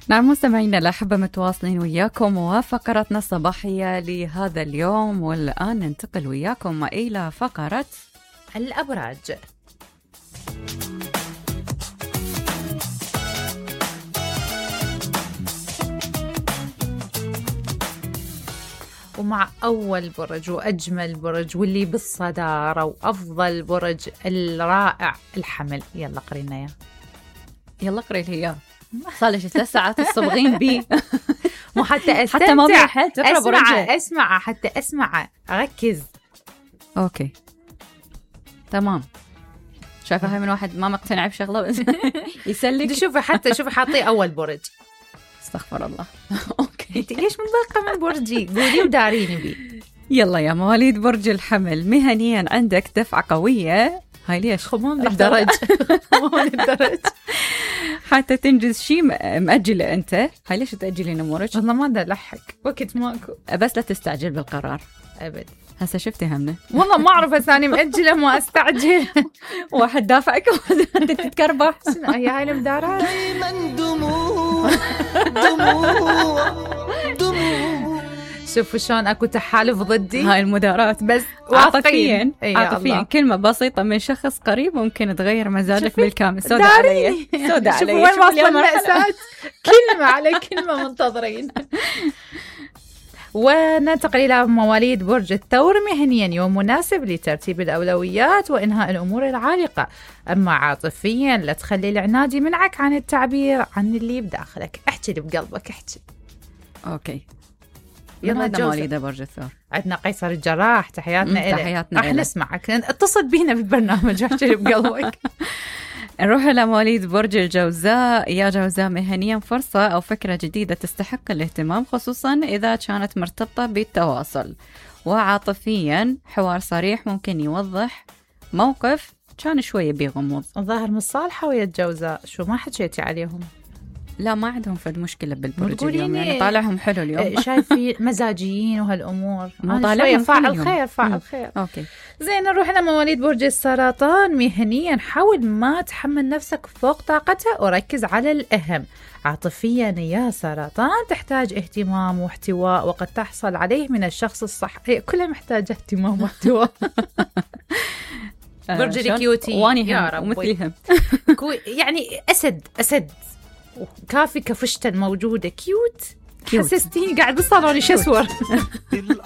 نعم مستمعينا الأحبة، متواصلين وياكم وفقرتنا الصباحية لهذا اليوم، والآن ننتقل وياكم إلى فقرة الأبراج. ومع أول برج وأجمل برج واللي بالصدارة وأفضل برج الرائع الحمل. يلا قرينا يا يلا قري لي إياه. صار لي 3 ساعات الصبغين بي مو حتى أستمتع، حتى ما بيحل تقرأ برجه. أسمع حتى أسمع أركز. أوكي تمام. شايفة هاي من واحد ما مقتنع بشغلة بس يسلك. شوفي حاطي أول برج. استغفر الله. أوكي انت ليش منضايقة من برجي؟ قولي وداريني بي. يلا يا مواليد برج الحمل، مهنيا عندك دفعة قوية. هاي ليش خمون للدرج خمون للدرج حتى تنجز شيء مأجلة أنت. هاي ليش تأجلين أمورك؟ والله ما دا لحق وقت ماكو، بس لا تستعجل بالقرار أبد. هسه شفتي همنا والله ما أعرف ثاني مأجلة ما أستعجل. واحد دافعك وأنت تتكربح. هي هاي المدارات دموع. شوفوا شلون اكو تحالف ضدي. هاي المدارات بس عاطفيا عاطفيا كلمة بسيطة من شخص قريب ممكن تغير مزاجك بالكامل. سودة علي سودة علي. شوفوا وين واصلة المأساة. كلمة على كلمة منتظرين. وننتقل إلى مواليد برج الثور، مهنيا يوم مناسب لترتيب الأولويات وإنهاء الأمور العالقة. أما عاطفيا لا تخلي العناد يمنعك عن التعبير عن اللي بداخلك. احكي اللي بقلبك احكي. أوكي يلا هذا مواليد برج الثور. عندنا قيصر الجراح، تحياتنا إلك. تحياتنا راح نسمعك، اتصل بينا بالبرنامج واحكي اللي بقلبك. نروح إلى مواليد برج الجوزاء. يا جوزاء، مهنيا فرصة أو فكرة جديدة تستحق الاهتمام، خصوصا إذا كانت مرتبطة بالتواصل. وعاطفيا حوار صريح ممكن يوضح موقف كان شوية بغموض. الظاهر مصالحة ويا الجوزاء، شو ما حكيتي عليهم؟ لا ما عندهم فد مشكلة بالبرج اليوم، يعني طالعهم حلو اليوم. شايفين مزاجيين وهالأمور. مو طالعهم فاعل خير فاعل خير. أوكي زين، نروح لمواليد برج السرطان. مهنيا حاول ما تحمل نفسك فوق طاقتها وركز على الأهم. عاطفيا يا سرطان تحتاج اهتمام واحتواء وقد تحصل عليه من الشخص الصح. كلها محتاجة اهتمام واحتواء. برج الكيوتي واني هم ومثلهم يعني أسد كافي كفشتة موجودة كيوت. حسستيني قاعد بالصالون يشسور.